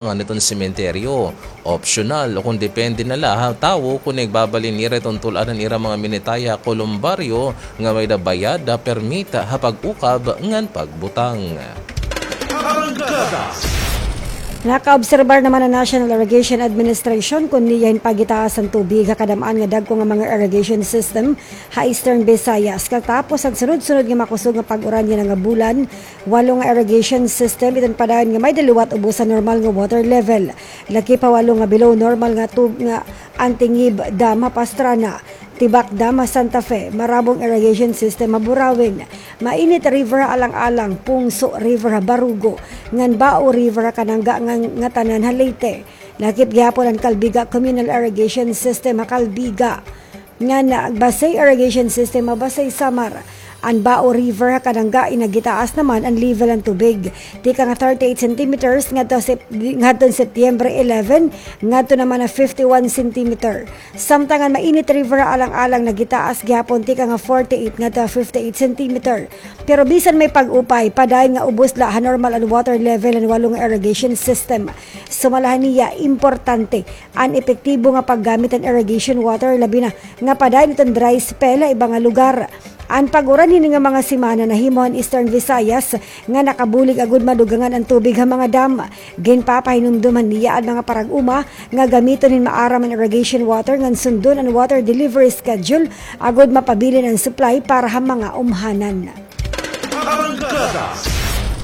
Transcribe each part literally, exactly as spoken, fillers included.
nga niton sementeryo. Opsyonal o kon depende na la ha tawo kon igbabalin nira iton tul-an han ira mga minitay ha kolumbaryo nga may-ada bayad ha permit ha pag-ukab ngan pagbutang. Nakaobserbar naman an National Irrigation Administration kon niya hin pagitaas han tubig ha kadam-an nga dagko nga mga irrigation system ha Eastern Visayas. Katapos han sunod-sunod nga makusog nga pag-uran yana nga bulan, walo nga irrigation system iton padayon nga may-ada liwat ubos ha normal nga water level. Lakip ha walo nga below normal nga tub nga Antingib Dam ha Pastrana, Tibak Dam ha Santa Fe, Marabong Irrigation System ha Burauen, Mainit River ha Alang-alang, Pungso River ha Barugo, ngan Bao River ha Kanangga ngan Ngatanan ha Leyte. Lakip gihapon an Calbiga Communal Irrigation System ha Calbiga, ngan Basey Irrigation System ha Basey, Samar. An Bao River ha Kanangga, nagitaas naman an level han tubig tikang thirty-eight centimeters ngadto sep-, ngadto Setyembre eleven, ngadto naman ha fifty-one centimeter. Samtang an Mainit River ha Alang-alang nagitaas gihapon tikang forty-eight ngadto ha fifty-eight centimeter. Pero bisan may pag-upay, padayon nga ubos la ha normal an water level han walo nga irrigation system. Sumala haniya, importante an epektibo nga paggamit han irrigation water, labi na nga padayon iton dry spell ha iba nga lugar. An pag-uran hini nga mga semana nahimo han Eastern Visayas nga nakabulig agod madugangan an tubig ha mga dam. Ginpapahinumdom haniya an mga parag-uma nga gamiton hin maaram an irrigation water ngan sundon an water delivery schedule agod mapabilin an supply para ha mga umhanan.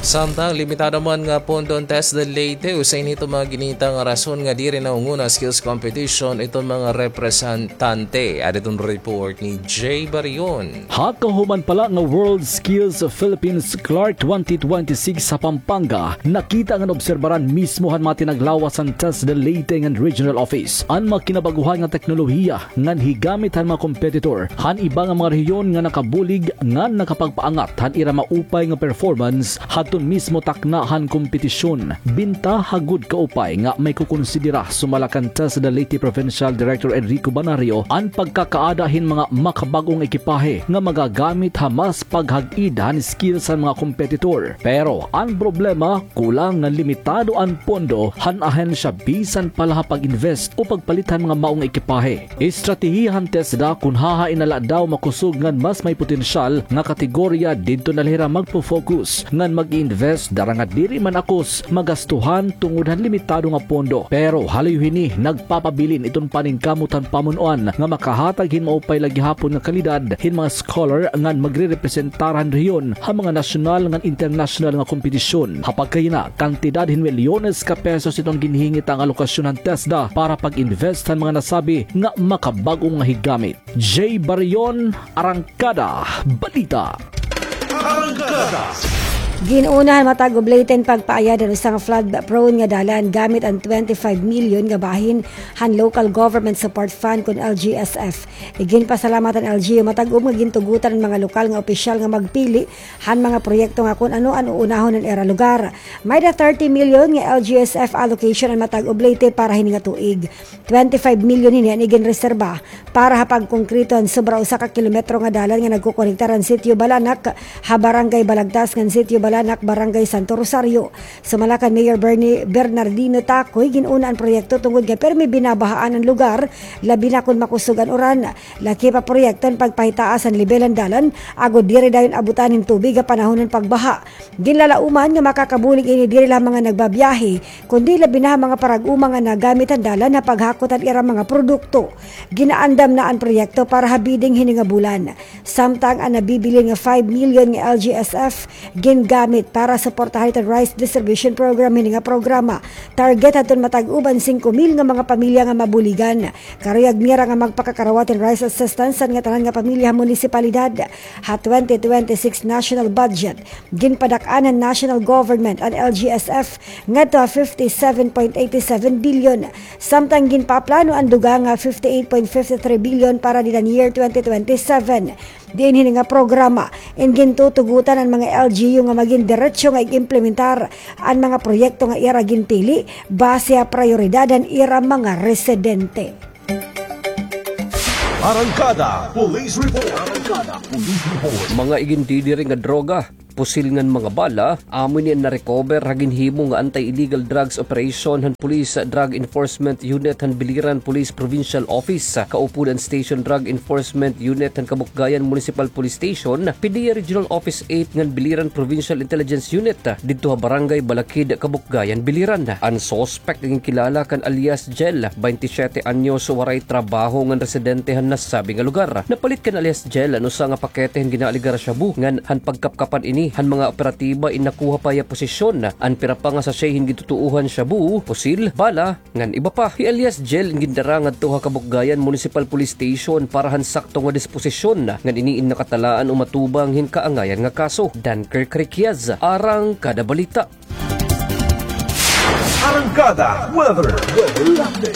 Samtang limitado man nga pondo an TESDA Leyte, usa ini iton mga ginita nga rason nga diri nahunguna skills competition iton mga representante. Adi iton report ni Jay Barion. Ha kahuman pa la nga World Skills Philippines Clark twenty twenty-six ha Pampanga, nakita ngan obserbaran mismo han mga tinaglawas han TESDA Leyte ngan Regional Office an mga kinabaguhan nga teknolohiya ngan higamit han mga kompetitor han iba nga mga rehiyon nga nakabulig ngan nakapagpaangat han ira maupay nga performance hadton mismo takna han kompetisyon. Bintaha gud kaupay nga maikukonsidera, sumala kan TESDA Leyte Provincial Director Enrico Banario, an pagkakaada hin mga makabag-o nga ekipahe nga magagamit ha mas paghag-id han skills han mga kompetitor. Pero an problema, kulang ngan limitado an pondo han ahensya bisan pa la ha pag-invest o pagpalit han mga mao nga ekipahe. Estratehiya han TESDA kon hahain na la daw makusog ngan mas may potensyal nga kategorya, didto na la hira magpo-focus ngan mag-i-invest, dara nga diri man akos magastuhan tungod han limitado nga pondo. Pero halayo hini, nagpapabilin iton paningkamot han pamun-oan nga makahatag hin maupay la gihapon nga kalidad hin mga scholar ngan magrerepresentar han rehiyon ha mga nasyonal ngan internasyonal nga kompetisyon. Ha pagkahina, kantidad hin milyones ka pesos iton ginhihingit nga alokasyon han TESDA para pag-invest han mga nasabi nga makabag-o nga higamit. Jay Barion, Arangkada Balita. Arangkada. Gin-una han Matag Oblate an pagpaayad han usa nga flood-prone nga dalan gamit an twenty-five million nga bahin han Local Government Support Fund kon L G S F. Iginpasalamat han L G U Matag-om nga gintugotan an mga lokal nga opisyal nga magpili han mga proyekto nga kon ano an uunahon han ira lugar. May-ada thirty million nga L G S F allocation an Matag Oblate para hini nga tuig. Twenty-five million hini an iginreserba para ha pagkongkrito han sobra usa ka kilometro nga dalan nga nagkokonektar han Sitio Balanak ha Barangay Balagtas ngan Sitio Balanak, Barangay Santo Rosario. Sumala kan Mayor Bernie Bernardino Tacoy, gin-una an proyekto tungod nga pirmi binabahaan an lugar, labi na kon makusog an uran. Lakip ha proyekto an pagpahitaas han lebel han dalan agod diri dayon abutan hin tubig ha panahon han pagbaha. Ginlalauman nga makakabulig ini diri la ha mga nagbabiyahe, kundi labi na ha mga parag-uma nga nagamit han dalan ha paghakot han ira mga produkto. Ginaandam na an proyekto para ha bidding hini nga bulan. Samtang an nabibilin nga five million nga L G S F gingamit para suportahan iton rice distribution program hini nga programa. Target hadton matag-uban singko mil nga mga pamilya nga mabuligan. Karuyag nira nga magpakakarawat hin rice assistance an ngatanan nga pamilya ha munisipalidad. Ha twenty twenty-six national budget, ginpadak-an han national government an L G S F ngadto ha fifty-seven point eighty-seven billion, samtang ginpaplano an dugang nga fifty-eight point fifty-three billion para dida han year twenty twenty-seven. Diin hini nga programa, in gintutugotan an mga L G U nga magin diretso nga ig-implementar an mga proyekto nga ira ginpili base ha prayoridad han ira mga residente. Arangkada Police Report. Arangkada Police Report. Mga igindidiri nga droga, pusil ngan mga bala. Amo ini an na-recover ha ginhimo nga anti-illegal drugs operation han Police Drug Enforcement Unit han Biliran Police Provincial Office, kaupod an Station Drug Enforcement Unit han Kabukgayan Municipal Police Station, PDEA Regional Office eight ngan Biliran Provincial Intelligence Unit, didto ha Barangay Balakid, Kabukgayan, Biliran. An suspect nga ginkilala kan alias Jel, baynte siyete anyos, waray trabaho ngan residente han nasabi nga lugar. Napalit kan alias Jel an usa nga pakete han ginaaligar a shabu ngan han pagkapkapan ini han mga operatiba in nakuha pa hiya posesyon an pira pa nga sachet hin gintutoohan shabu, pusil, bala, ngan iba pa. Hi alias Jel in gindara ngadto ha Kabukgayan Municipal Police Station para han sakto nga disposisyon, ngan ini in nakatalaan o matubang hin kaangayan nga kaso. Dunker Criquias, Arangkada Balita. Arangkada Weather.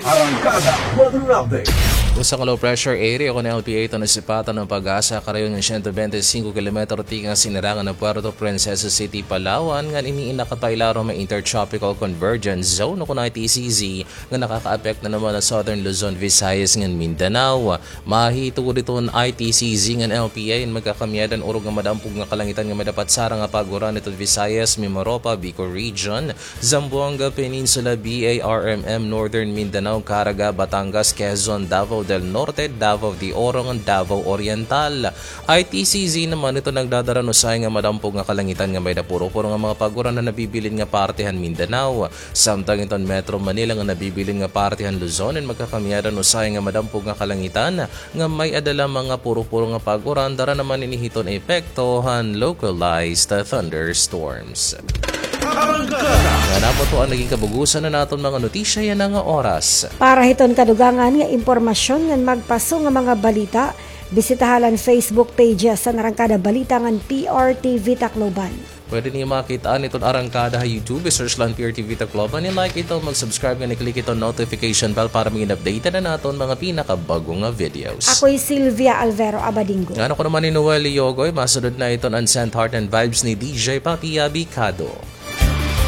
Arangkada Weather Update. Usa ka low pressure area kon L P A iton nasipatan han PAGASA karayon nga siyento bente singko kilometro tikang sinirangan han Puerto Princesa City, Palawan, ngan ini in nakapailarom ha Intertropical Convergence Zone o kon I T C Z nga nakakaapekto naman ha Southern Luzon, Visayas, ngan Mindanao. Mahitungod hiton I T C Z ngan L P A in magkakamiyadan, urog nga madampog nga kalangitan nga may dapat sarang nga pag-uran hiton Visayas, Mimaropa, Bicol Region, Zamboanga Peninsula, B A R M M, Northern Mindanao, Caraga, Batangas, Quezon, Davao del Norte, Davao de Oro, ngan Davao Oriental. I T C Z naman ito nagdadara hin usahay nga madampog nga kalangitan nga may-ada puro-puro nga mga pag-uran ha nabibilin nga parte han Mindanao. Samtang iton Metro Manila nga nabibilin nga parte han Luzon in magkakamiyadan usahay nga madampog nga kalangitan nga may-ada la mga puro-puro nga pag-uran, dara naman ini hiton epekto han localized thunderstorms. Ngan amo ito an naging kabug-osan han aton mga notisya yana nga oras. Para hiton kadugangan nga impormasyon ngan magpaso nga mga balita, bisitaha la an Facebook pages han Arangkada Balita ngan P R T V Tacloban. Pwede niyo makit-an iton Arangkada ha YouTube. I-search la an P R T V Tacloban. I-like ito, mag-subscribe, ngan i-click iton notification bell para magin updated an aton mga pinakabag-o nga videos. Ako hi Sylvia Alvero Abadingo. Ngan ako naman hi Noel Yogoy. Masunod na iton an Sent Heart and Vibes ni D J Papi Abicado.